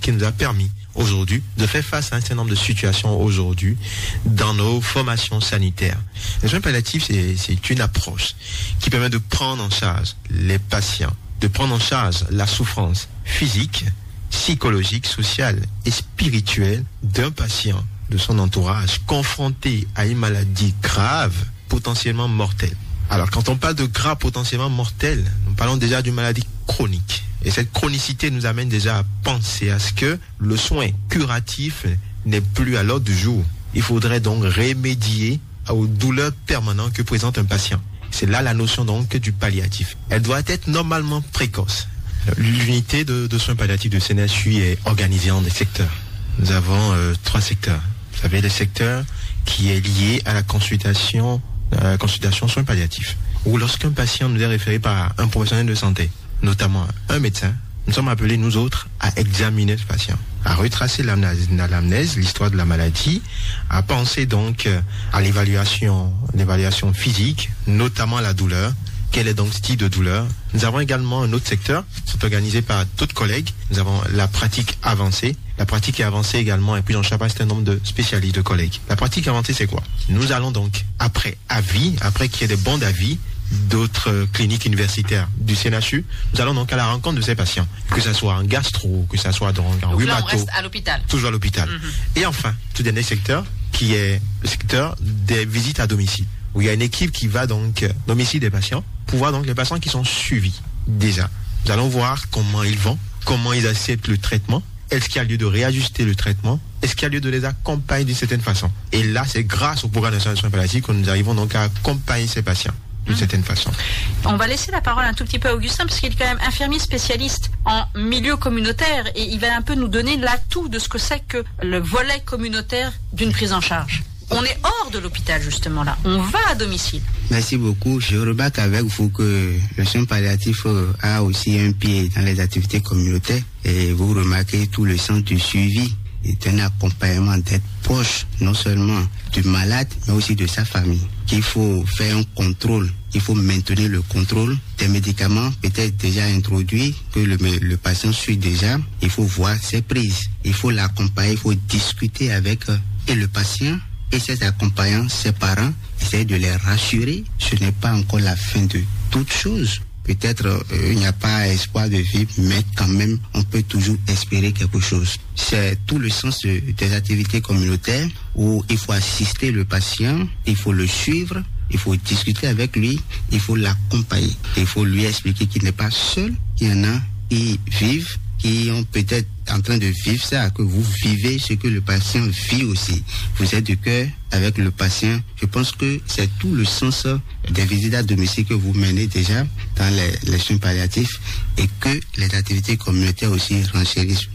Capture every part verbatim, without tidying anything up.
qui nous a permis aujourd'hui de faire face à un certain nombre de situations aujourd'hui dans nos formations sanitaires. Les soins palliatifs, c'est, c'est une approche qui permet de prendre en charge les patients, de prendre en charge la souffrance physique, psychologique, sociale et spirituelle d'un patient, de son entourage, confronté à une maladie grave, potentiellement mortelle. Alors, quand on parle de grave potentiellement mortel, nous parlons déjà d'une maladie chronique. Et cette chronicité nous amène déjà à penser à ce que le soin curatif n'est plus à l'ordre du jour. Il faudrait donc remédier aux douleurs permanentes que présente un patient. C'est là la notion donc du palliatif. Elle doit être normalement précoce. L'unité de, de soins palliatifs de C N S U est organisée en des secteurs. Nous avons euh, trois secteurs. Vous avez le secteur qui est lié à la consultation, à la consultation soins palliatifs, où lorsqu'un patient nous est référé par un professionnel de santé, notamment un médecin, nous sommes appelés, nous autres, à examiner ce patient, à retracer l'amnèse, l'amnèse, l'histoire de la maladie, à penser donc euh, à l'évaluation, l'évaluation physique, notamment la douleur. Quel est donc ce type de douleur ? Nous avons également un autre secteur, c'est organisé par d'autres collègues. Nous avons la pratique avancée. La pratique avancée également est prise en charge par un certain nombre de spécialistes, de collègues. La pratique avancée, c'est quoi ? Nous allons donc, après avis, après qu'il y ait des bons d'avis d'autres euh, cliniques universitaires du C N H U, nous allons donc à la rencontre de ces patients, que ce soit en gastro, que ce soit donc en Donc là, on rhumato, reste à l'hôpital. toujours à l'hôpital. Et enfin, tout dernier secteur, qui est le secteur des visites à domicile, où il y a une équipe qui va donc euh, domicile des patients, pour voir donc les patients qui sont suivis déjà. Nous allons voir comment ils vont, comment ils acceptent le traitement, est-ce qu'il y a lieu de réajuster le traitement, est-ce qu'il y a lieu de les accompagner d'une certaine façon. Et là, c'est grâce au programme national de soins palliatifs que nous arrivons donc à accompagner ces patients d'une certaine façon. On va laisser la parole un tout petit peu à Augustin, parce qu'il est quand même infirmier spécialiste en milieu communautaire, et il va un peu nous donner l'atout de ce que c'est que le volet communautaire d'une prise en charge. On est hors de l'hôpital, justement, là. On va à domicile. Merci beaucoup. Je remarque avec vous que le soin palliatif euh, a aussi un pied dans les activités communautaires. Et vous remarquez tout le sens du suivi et d'un accompagnement, d'être proche non seulement du malade, mais aussi de sa famille. Qu'il faut faire un contrôle, il faut maintenir le contrôle des médicaments peut-être déjà introduits, que le, le patient suit déjà. Il faut voir ses prises, il faut l'accompagner, il faut discuter avec euh, et le patient et ses accompagnants, ses parents, essayer de les rassurer. Ce n'est pas encore la fin de toute chose. Peut-être euh, il n'y a pas espoir de vie, mais quand même, on peut toujours espérer quelque chose. C'est tout le sens de- des activités communautaires où il faut assister le patient, il faut le suivre, il faut discuter avec lui, il faut l'accompagner. Il faut lui expliquer qu'il n'est pas seul, qu'il y en a qui vivent, qui ont peut-être en train de vivre ça, que vous vivez ce que le patient vit aussi. Vous êtes de cœur avec le patient. Je pense que c'est tout le sens des visites à domicile que vous menez déjà dans les, les soins palliatifs et que les activités communautaires aussi renchérissent.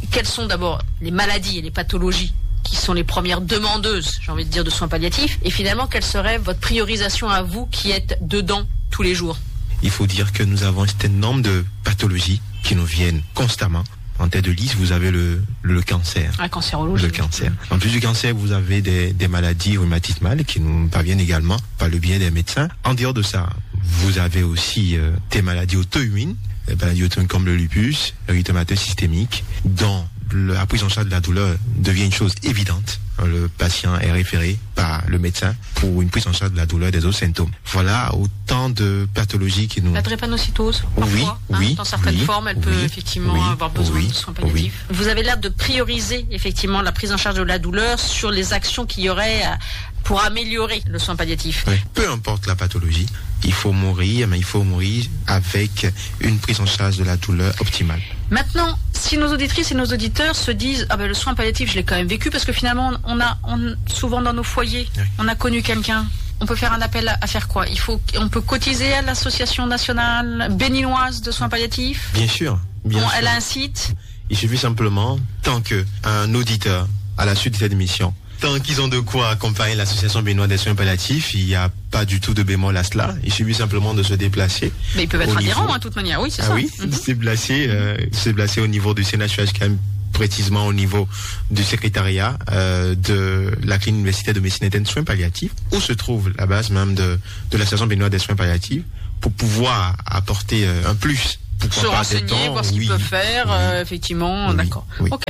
Quelles sont d'abord les maladies et les pathologies qui sont les premières demandeuses, j'ai envie de dire, de soins palliatifs ? Et finalement, quelle serait votre priorisation à vous qui êtes dedans tous les jours ? Il faut dire que nous avons un certain nombre de pathologies qui nous viennent constamment. En tête de liste, vous avez le, le cancer. La cancérologie. Le cancer. En plus du cancer, vous avez des, des maladies rhumatismales qui nous parviennent également par le biais des médecins. En dehors de ça, vous avez aussi euh, des maladies auto-immunes, des maladies auto-immunes comme le lupus, le rhumatisme systémique, dont le- la prise en charge de la douleur devient une chose évidente. Le patient est référé par le médecin pour une prise en charge de la douleur des autres symptômes. Voilà autant de pathologies qui nous... La drépanocytose, Oui, parfois, hein, oui, dans certaines oui, formes, elle peut oui, effectivement oui, avoir besoin oui, de soins palliatifs. Vous avez l'air de prioriser effectivement la prise en charge de la douleur sur les actions qu'il y aurait euh, pour améliorer le soin palliatif. Oui. Peu importe la pathologie, il faut mourir, mais il faut mourir avec une prise en charge de la douleur optimale. Maintenant, si nos auditrices et nos auditeurs se disent ah ben le soin palliatif, je l'ai quand même vécu, parce que finalement on a on, souvent dans nos foyers, Oui. On a connu quelqu'un. On peut faire un appel à, à faire quoi ? Il faut on peut cotiser à l'association nationale béninoise de soins palliatifs. Bien sûr, bien Bon, sûr. Elle a un site. Il suffit simplement, tant qu'un auditeur, à la suite de cette émission, tant qu'ils ont de quoi accompagner l'association béninoise des soins palliatifs, il n'y a pas du tout de bémol à cela. Il suffit simplement de se déplacer. Mais ils peuvent être au adhérents, niveau- hein, de toute manière. Oui, c'est Ah ça. Oui, Mhm. Se déplacer, euh, se déplacer au niveau du C N H U H K M, précisément au niveau du secrétariat euh, de la clinique universitaire de médecine interne soins palliatifs, où se trouve la base même de, de l'association béninoise des soins palliatifs, pour pouvoir apporter euh, un plus. Pourquoi Se pas renseigner, des dons, voir ce qu'ils oui, peuvent faire, oui. Euh, effectivement, Oui, d'accord. oui. Ok.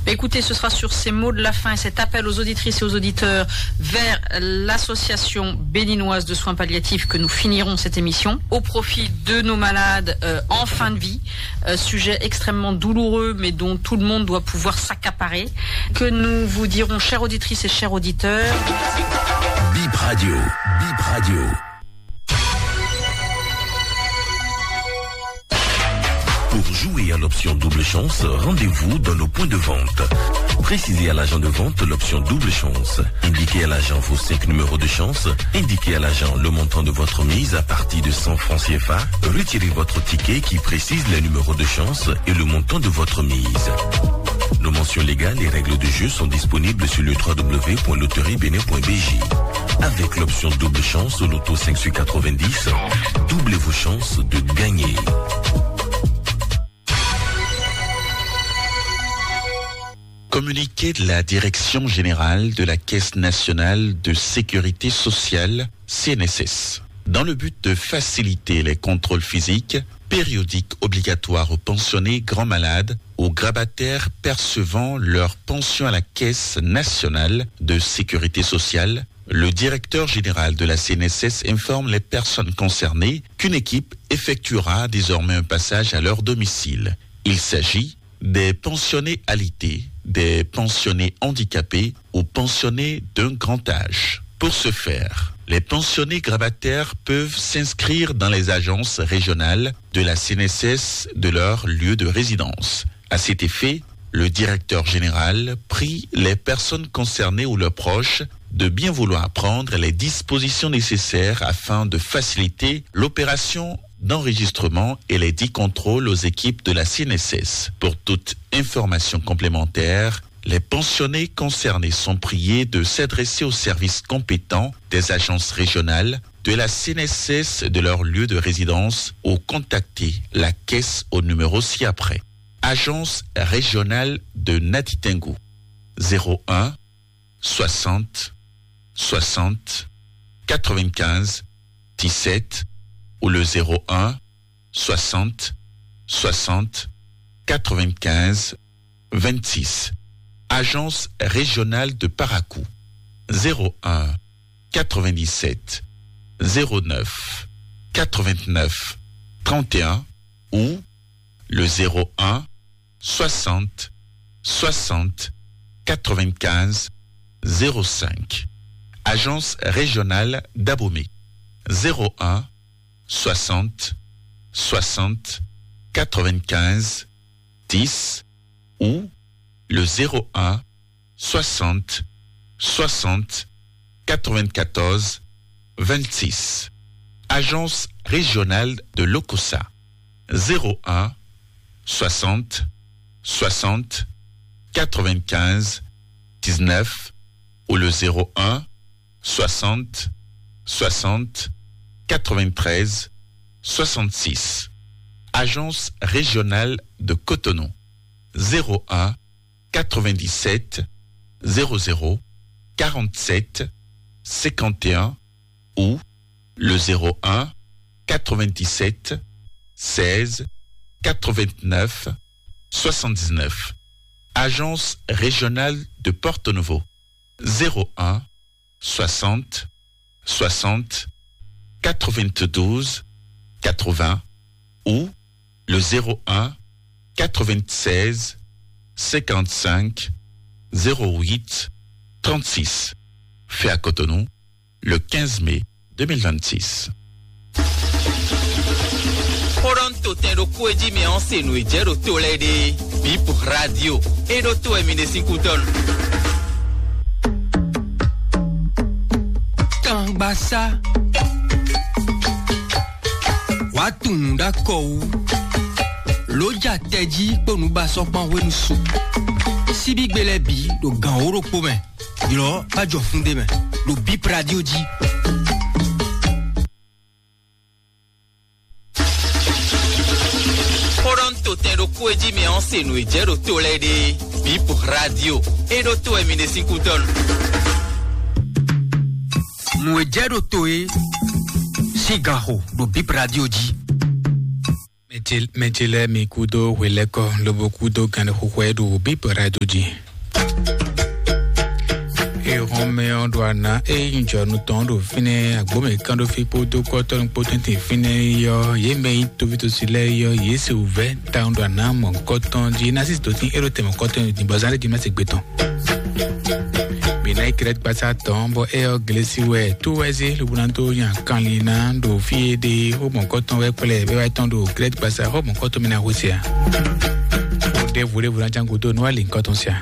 Écoutez, ce sera sur ces mots de la fin et cet appel aux auditrices et aux auditeurs vers l'association béninoise de soins palliatifs que nous finirons cette émission au profit de nos malades euh, en fin de vie. Euh, sujet extrêmement douloureux, mais dont tout le monde doit pouvoir s'accaparer. Que nous vous dirons, chères auditrices et chers auditeurs. Bip Radio, Bip Radio. Pour jouer à l'option double chance, rendez-vous dans nos points de vente. Précisez à l'agent de vente l'option double chance. Indiquez à l'agent vos cinq numéros de chance. Indiquez à l'agent le montant de votre mise à partir de cent francs C F A. Retirez votre ticket qui précise les numéros de chance et le montant de votre mise. Nos mentions légales et règles de jeu sont disponibles sur le trois W point loterie bénin point B J. Avec l'option double chance au loto cinq sur quatre-vingt-dix, doublez vos chances de gagner. Communiqué de la Direction générale de la Caisse nationale de sécurité sociale, C N S S. Dans le but de faciliter les contrôles physiques, périodiques obligatoires aux pensionnés grands malades, aux grabataires percevant leur pension à la Caisse nationale de sécurité sociale, le directeur général de la C N S S informe les personnes concernées qu'une équipe effectuera désormais un passage à leur domicile. Il s'agit des pensionnés alités, des pensionnés handicapés ou pensionnés d'un grand âge. Pour ce faire, les pensionnés grabataires peuvent s'inscrire dans les agences régionales de la C N S S de leur lieu de résidence. À cet effet, le directeur général prie les personnes concernées ou leurs proches de bien vouloir prendre les dispositions nécessaires afin de faciliter l'opération d'enregistrement et les dix contrôles aux équipes de la C N S S. Pour toute information complémentaire, les pensionnés concernés sont priés de s'adresser aux services compétents des agences régionales de la C N S S de leur lieu de résidence ou contacter la caisse au numéro ci-après. Agence régionale de Natitingou, zéro un, soixante, soixante, quatre-vingt-quinze, dix-sept ou le zéro un, soixante, soixante, quatre-vingt-quinze, vingt-six. Agence régionale de Parakou, zéro un, quatre-vingt-dix-sept, zéro neuf, quatre-vingt-neuf, trente et un ou le zéro un, soixante, soixante, quatre-vingt-quinze, zéro cinq. Agence régionale d'Abomey, zéro un, soixante, soixante, quatre-vingt-quinze, dix ou le zéro un, soixante, soixante, quatre-vingt-quatorze, vingt-six. Agence régionale de l'Okosa, zéro un, soixante, soixante, quatre-vingt-quinze, dix-neuf ou le zéro un, soixante, soixante, quatre-vingt-treize, soixante-six. Agence régionale de Cotonou, zéro un, quatre-vingt-dix-sept, zéro zéro, quarante-sept, cinquante et un ou le zéro un, quatre-vingt-dix-sept, seize, quatre-vingt-neuf, soixante-dix-neuf. Agence régionale de Porto Novo, zéro un, soixante, soixante, quatre-vingt-douze, quatre-vingts ou le zéro un, quatre-vingt-seize, cinquante-cinq, zéro huit, trente-six. Fait à Cotonou, le quinze mai deux mille vingt-six. Xó ɖɔ nú totɛn ɖokpó e jí mi ɔ́ se nǔ e jɛ ɖo to lɛ́ɛ ɖe. Bip Radio. É ɖó to wɛ mi ɖe sín kútɔ́ nu. Kangbasá. Wàá tunwun ɖó akɔ wú. Lǒ ja tɛjí kpó nǔbasɔ́ kpán hwenu su. Síbígbe lɛ́ɛ bǐ ɖo gǎn wǒ ɖokpó mɛ. Ylɔ̌ bá jɔ fún ɖé mɛ ɖo Bip Radio jí. Xó ɖɔ nú totɛn ɖokpó e jí mi ɔ́ se nǔ e jɛ ɖo to lɛ́ɛ ɖe. Bip Radio. É ɖó to wɛ mi ɖe sín kútɔ́ nu. Nǔ e jɛ ɖo to é sín ganxo ɖo Bip Radio jí. Mɛ ce lɛ́ɛ mi kúdó hwelɛ́kɔ lobo kúdó gannixoxo e ɖo Bíbɛ́ radio jí. Ehɔnmɛ ɔ́ ɖo ana e nyí jɔnu tɔn ɖo fínɛ́ agbǒmɛ kánɖófí kpódó kɔ́tɔ́nú kpó tɛ́ntin fínɛ́ é ɔ́, yě mɛ nyí tovítɔ́sí lɛ́ɛ é ɔ́, yě se wǔvɛ́ tawun ɖo ana mɔ̌hunkɔtɔn jí. Ná sísí dǒ tín é ɖo tɛn mɔ̌hunkɔtɔn ní din bɔ zán ɖé jí má se gbe tɔn. Mǐ ná yi Krɛ́t gbasá tɔn bɔ é ɔ́ Glesi wɛ tó wɛ zé lobo ná dó nya kanlin ná ɖo fí e ɖe xó mɔ̌hunkɔtɔn wɛ kplɛ bɛ́ wá tɔn ɖo Krɛ́t gbasá xó mɔ̌hunkɔtɔn mɛ ná xwé se ǎ. Ɖěvo ɖěvo ná ján gúdo nú wá lǐnkɔ́tɔn se ǎ.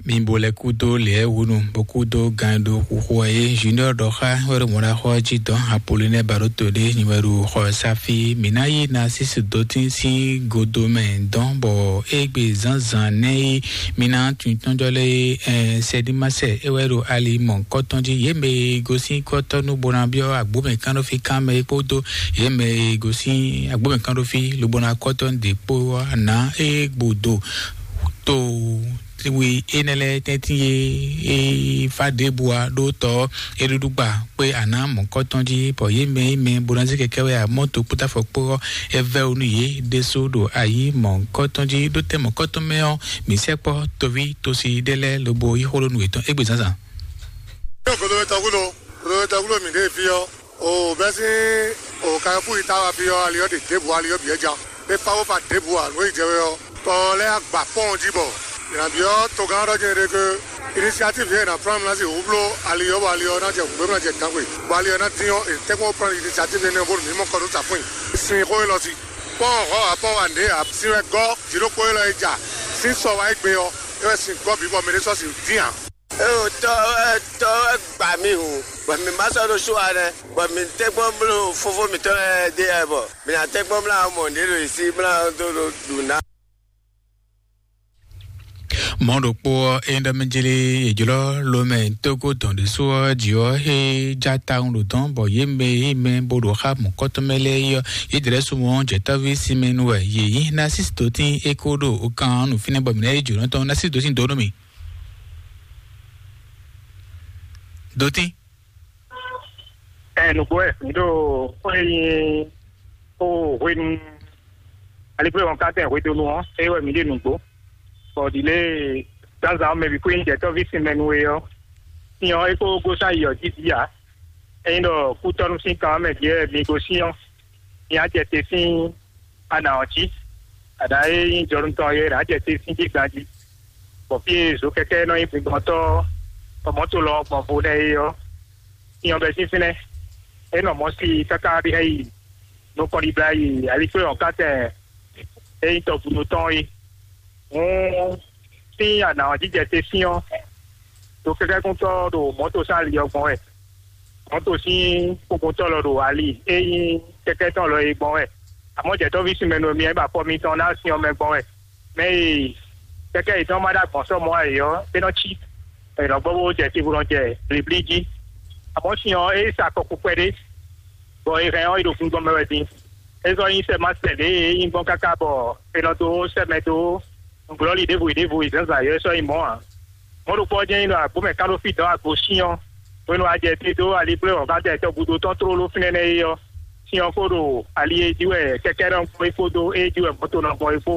Mi bo lɛ kúdó lɛ̌ wúnu bó kúdó gan ɖo xuxu ɔ́ é Junior ɖɔ xá wɛ ɖo mɔɖaxɔ ɔ́ jí dɔn Apolinɛ Baɖóto ɖé nyi wɛ ɖo xɔ ɔ́ sá fí. Mǐ ná yí Nasísi dó tín sín godo mɛ dɔn bɔ égbé zǎnzǎn nɛ́ é mǐ ná tunwun tɔ́njɔ́ lɛ́ɛ é sɛɖímasɛ é wɛ ɖo ali mɔ̌hunkɔtɔn jí. Yě mɛ e gosín kɔ́tɔ́ nú bó ná byɔ́ agbǒmɛ kánɖófí kán mɛ é kpódó yě mɛ e gosín agbǒmɛ kánɖófí lobo ná kɔ́tɔ́ ɖě kpó ɔ́ ná é gbo do to wi énɛ́ lɛ́ɛ tɛ́ntin e é fá ɖěbǔ ǎ ɖó tɔ é ɖúɖú gba kpé ana mɔ̌kɔtɔn jí bɔ yě mɛ é mɛ bó ná zé kɛkɛ́ wɛ ǎ mɔ́ tokpótáfɔ kpó ɔ́ é vɛ́ wú nú yě ɖésú ɖo ayǐ mɔ̌kɔtɔn jí ɖó tɛ́ mɔ̌kɔtɔn mɛ ɔ́ mǐ sɛkpɔ́ toví tosi ɖé lɛ́ɛ lobo yí xó ɖó nú yětɔn égbé zǎnzǎn. Yóò kodo wɛ tɔgúdo, kodo wɛ tɔgúdo mǐ ɖe fí ɔ́, o bɛ́ sín o kayɔ́fú yi ta wá fí ɔ́, ali ɔ́ ɖe ɖěbǔ, ali ɔ́ bǐ wɛ ja. É fá wó fa ɖěbǔ ǎ, nǔ e jɛ wɛ ɔ́, tɔ lɛ́ɛ agba pɔ́n jí bɔ yě ná byɔ́ togán ɔ́ ɖɔ jɛ́n ɖe ke inisiatív e è nǎ plán ná si wǔbló ali ɔ́, bɔ ali ɔ́ ná jɛ hǔgbé, bó ná jɛ gǎngbe, bɔ ali ɔ́ ná dín ɔ́, è tɛ́nkpɔ́n wó plán inisiatív énɛ́ ɔ́ bónú mǐ mɔ kɔ nú safún nyi sin xó élɔ́ sí. Pɔ́n hɔ̌ ǎ, pɔ́n wa nǔɖé ǎ, sin wɛ gɔ́ jǐɖokpó élɔ́ e ja sín sɔ wá égbé ɔ́, é wɛ sin gɔ́ bǐ bɔ mɛ ɖé sɔ́ sin dín ǎ. Eo tɔ wɛ tɔ wɛ gba mì hǔn, bɔ mǐ ma sɔ́ ɖo sú ǎ nɛ́, bɔ mǐ tɛ́nkpɔ́n bló fofó mǐtɔn lɛ́ɛ ɖe wɛ bɔ mǐ ná tɛ́nkpɔ́n mlá mɔ nǔɖé ɖo yě sí mlá dó ɖo ɖu ná. Mɔ̌ ɖokpó ɔ́, é ɖɔ mɛ jlé è jlɔ́ lomɛ tógó dɔn ɖésú ɔ́ jí ɔ́, é já tawun ɖo dɔn bɔ yě mɛ yě mɛ bó ɖo xá mɔ̌kɔtɔn mɛ lɛ́ɛ é ɔ́, yě jlɛ́ súnmɔ jɛ̌tɔ́ví Simɛnu wɛ yě nyí. Ná sísí dó tín é kó ɖo kan ɔ́ nú fínɛ́ bɔ mǐ ná yí jǒnɔ tɔn ná sísí dó tín dó nú mì. Dó tín. Ɛ nǔgbó wɛ mǐ ɖo xó e nyí xó hwenu aligbléhɔn kátɛn hwedonu ɔ́, é wɛ mǐ ɖe nǔgbó. Bɔ ɖi lě e zǎnzǎn ɔ́ mɛ bǐ xwé nyí jɛ̌tɔ́ví sinmɛ nú we ɔ́, sin ɔ́ é kó gosín ayi ɔ́ jí bǐ ǎ. Ényí ɖɔ kútɔ́nú sín kan ɔ́ mɛ ɖíe mi gosín ɔ́, mi á jɛ te sín ana ɔ́ jí. Aɖǎ e nyí jɔnú tɔn é ná jɛ te sín jí ganjí. Bɔ fí e zokɛkɛ́ nɔ nyí gbingbɔntɔ́ bɔ mɔ̌to lɔ gbɔn vo nɛ́ é ɔ́, sin ɔ́ bɛ́ sín fínɛ́. É nɔ mɔ̌ si káká bǐ hɛn yi nukɔn ɖibla yi aliklé ɔ́ kátɛn e nyí tɔgúdo tɔn é. Hǔn sín ana ɔ́ jijɛ te sín ɔ́, ɖo kɛkɛ́kúntɔ́ ɖo mɔ̌to sín ali ɔ́ gbɔn wɛ. Mɔ̌to sín kpokpotɔ́ lɔ ɖo ali e nyí kɛkɛ́ tɔn lɔ é gbɔn wɛ. Amɔ̌ jɛ̌tɔ́ví sinmɛ nú mi ɔ́, é ba afɔ mitɔn ná sin ɔ́ mɛ gbɔn wɛ. Mɛ e kɛkɛ́ yětɔn ma ɖo agbɔ̌n sɔ́ mɔ̌ ǎ é ɔ́, é nɔ cí. È nɔ gbɔ bó jɛ te bó nɔ jɛ blíblí jí. Amɔ̌ sin ɔ́, é sa kɔkú kpɛɖé, bɔ è hɛn ɔ́, é ɖo gbingbɔn mɛ wɛ din. É zɔ́ nyí sɛ́ ma sɛ lě e é nyí gbɔn káká bɔ è nɔ dó sɛ́ mɛ dó nǔglɔ́lí ɖěvo e ɖěvo e zǎnzǎn yɔ́ é sɔ́ nyí mɔ̌ ǎ. Mɔ̌ ɖokpó ɔ́ jɛ́n nyí ɖɔ agbǒmɛ kán ɖó fí dɔ̌n agbǒ sín ɔ́, hwenu a jɛ te dó alibló wɔ̌gán tɛ tɔgúdo tɔn tlóló fínɛ́ nɛ́ é ɔ́, sin ɔ́ kó ɖo ali e jí wɛ kɛkɛ́ nɔ gbɔn é kpódó é jí wɛ mɔ̌to nɔ gbɔn é kpó.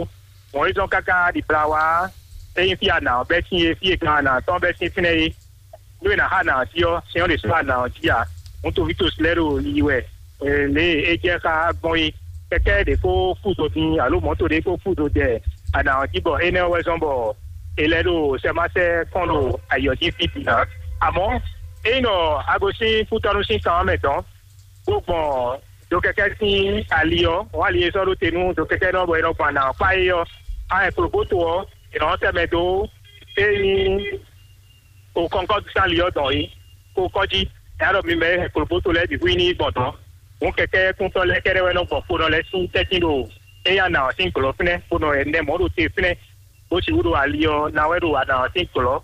Mɔ̌ é zɔ́n káká ɖi bla wá é nyí fí ana ɔ́ bɛ́ sín é, fí e gan ana tɔn bɛ́ sín fínɛ́ é. Nú è nǎ xa nǎ jí ɔ́, sɛ́n ɔ́ ɖě sɔ́ ana ɔ́ jí ǎ. Hǔn toví tosi lɛ́ɛ ɖo yiyi wɛ, lě e é jɛ xá gbɔn é. Kɛkɛ́ ɖě kó kú zo din alo mɔ̌to ɖě kó kú zo jɛ ana ɔ́ jí bɔ énɛ́ ɔ́ wɛ zɔ́n bɔ è lɛ́ ɖo sɛ́máṣɛ́ kɔn ɖo ayǐ ɔ́ jí fí din ǎ. Amɔ̌, ényí nɔ Agosín kútɔ́nú sín kan ɔ́ mɛ dɔn, bó gbɔn dokɛkɛ́ sín ali ɔ́, wɔ̌n ali e sɔ́ ɖó te nú dokɛkɛ́ nɔ bɔ è nɔ gbɔn ana ɔ́ kpá é ɔ́, a hɛn klobóto ɔ́, è nɔ sɛ́ mɛ dó é nyí o kɔnkɔ́ sín ali ɔ́ dɔn é, kó kɔ́ jí. Nya ɖɔ mi mɛ e hɛn klobóto lɛ́ɛ bǐ hu i ní yi gbɔn dɔ̌n. Hǔn kɛkɛ́ kúntɔ́ lɛ́ɛ kɛ́ɖɛ́ wɛ nɔ gbɔn kpo nɔ lɛ́ɛ sín tɛ́ntin ɖo éyɛ́ ana ɔ́ sín glɔ́ fínɛ́, bó nɔ ɛnɛ mɔ̌ ɖo te fínɛ́, bó sixú ɖo ali ɔ́ ná wɛ ɖo ana ɔ́ sín glɔ́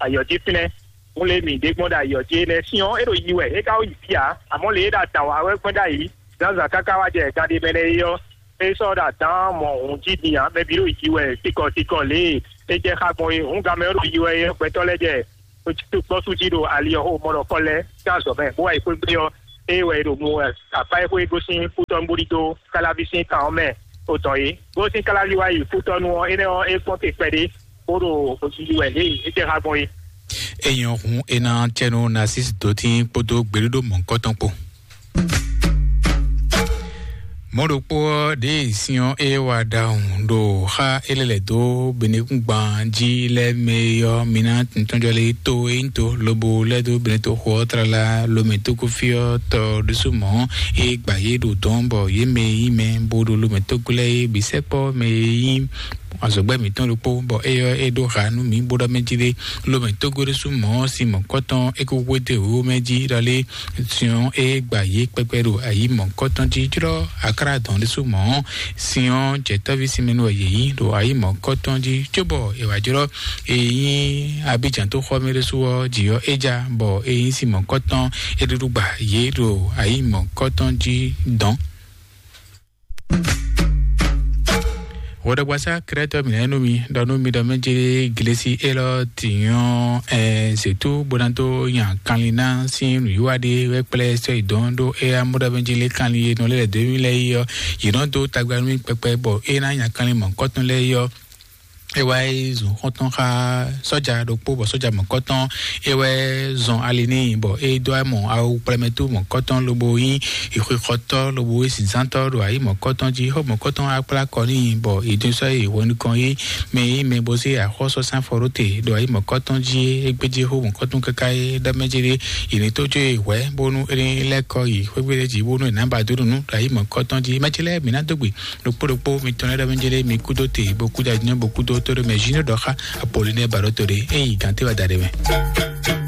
ayɔ̌ jí fínɛ́. Hǔn lě mǐ ɖe gbɔn ɖo ayɔ̌ jí énɛ́ sín ɔ́, é ɖo yi wɛ, é ka wó yi fí ǎ, amɔ̌ lě e ɖo adǎn wa wɛ gbɔn ɖ'ayǐ zǎnzǎn káká wá jɛ gande mɛ nɛ́ é ɔ́, é sɔ́ ɖo adǎn mɔ hǔn jí din ǎ, mɛ bǐ ɖo yi wɛ tikɔtikɔ lě e é jɛ xá gbɔn é. Hǔn ganmɛ ɔ́ ɖo yi wɛ é, gbɛtɔ́ lɛ́ɛ jɛ kpɔ́sú jí ɖo ali ɔ́ xo mɔ ɖɔ kɔ́ lɛ́ɛ sín azɔ̌ mɛ, bó wá yi xwé gbe ɔ́, ée wɛ è ɖo nu apá e xwé gosín kútɔ́ bó ɖidó káláví sín kan ɔ́ mɛ. Ó tɔn é gosín káláví wá yi kútɔ́ nu ɔ́, énɛ́ ɔ́ é kpɔ́n te kpɛɖé bó ɖo yiyi wɛ lě e é jɛ xá gbɔn é. Èèyàn hun ena cɛnu nasis dó tí kpódó gbèɖúɖó mɔ̌kɔtɔn kpó. Mɔ̌ ɖokpó ɔ́, ɖěe syɔ́n é wa ɖahun ɖo xá é lɛ́ lɛ̌ dó benekúngban jí lɛ́ɛ mɛ é ɔ́, mi ná tɔ́njɔ lé tó é nyí to lobo lɛ́ dó benetoxo ɔ́ tlala lomɛ tókúfí ɔ́ tɔ ɖésú mɔ̌ é gba yě ɖo dɔ̌n bɔ yě mɛ e nyí mɛ bó ɖo lomɛ tókú lɛ́ɛ é bǐ sɛkpɔ́ mɛ e nyí azɔ̌gbɛ́ mǐtɔn ɖokpó, bɔ éyɔ́ é ɖó ha nú mǐ bó ɖɔ mɛ jí ɖé. Lomɛ tógó ɖésú mɔ̌ sin mɔ̌kɔtɔn é kó hwedó wěwé mɛ jí ɖɔ lé, syɔ́n é gba yě kpɛkpɛ ɖo ayǐ mɔ̌kɔtɔn jí jlɔ́. Akrá dɔn ɖésú mɔ̌, syɔ́n jɛtɔ́ví sinmɛnu wɛ yě nyí ɖo ayǐ mɔ̌kɔtɔn jí, cóbɔ è wǎ jlɔ́ è nyí Abidjan tó xɔ mɛ ɖésú ɔ́, jǐ ɔ́ é ja, bɔ è nyí sin mɔ̌kɔtɔn é ɖúɖú gba yě ɖo ayǐ mɔ̌kɔtɔn jí dɔn. Hwɛɖɔgbasá Krɛtɔ mǐ lɛ́ɛ nú mi ɖɔ nú mi ɖɔ mɛ jɛ Glesi élɔ́ tǐnyɔ́ ɛ zětú bó ná dó nya kanlin ná sín nǔwiwa ɖé wɛ kplɛ́ sɔ́ yi dɔn ɖó éyá mɔ ɖɔ mɛ jɛ lé kanlin e nɔ lɛ́ lɛ̌ dó mì lɛ́ɛ yi ɔ́, yě nɔ dó tagba nú mì kpɛkpɛ bɔ é ná nya kanlin mɔ̌kɔtɔn lɛ́ɛ yi ɔ́, é wá yi zun xɔ́ntɔn xá sɔ́ja ɖokpó, bɔ sɔ́ja mɔ̌kɔtɔn é wɛ zɔn ali n'i, bɔ é dó amɔ awu kplɛmɛtó mɔ̌kɔtɔn lobo nyí ixwexɔtɔ́ lobo nyí zǐnzántɔ́ ɖo ayǐ mɔ̌kɔtɔn jí. Xó mɔ̌kɔtɔn akplá kɔ n'i, bɔ è dó sɔ́ yi hwɛ nukɔn yí mɛ yí mɛ bó zé axɔ́sɔ́sán fɔ ɖó te ɖo ayǐ mɔ̌kɔtɔn jí. É gbéjé xó mɔ̌kɔtɔn káká é ɖɔ mɛ jí ɖé, è nǐ tó jó yi hwɛ̌ bónú é ní lɛ́ kɔ yi xwé gbe ɖé jí bónú è nǎ ba dó nǔ ɖo ayǐ mɔ̌kɔtɔn jí. Mɛ ce lɛ́ɛ mǐ ná dó gbe ɖokpó ɖokpó mitɔn lɛ́ɛ ɖɔ mɛ jɛ ɖé mi kúdó te bó kúdó ajínɔ bó kúdó tó ɖé mɛ jí nɔ ɖɔ xá Apollinɛ Baɖɔtɔ ɖé é yi gǎn té wá da ɖé mɛ.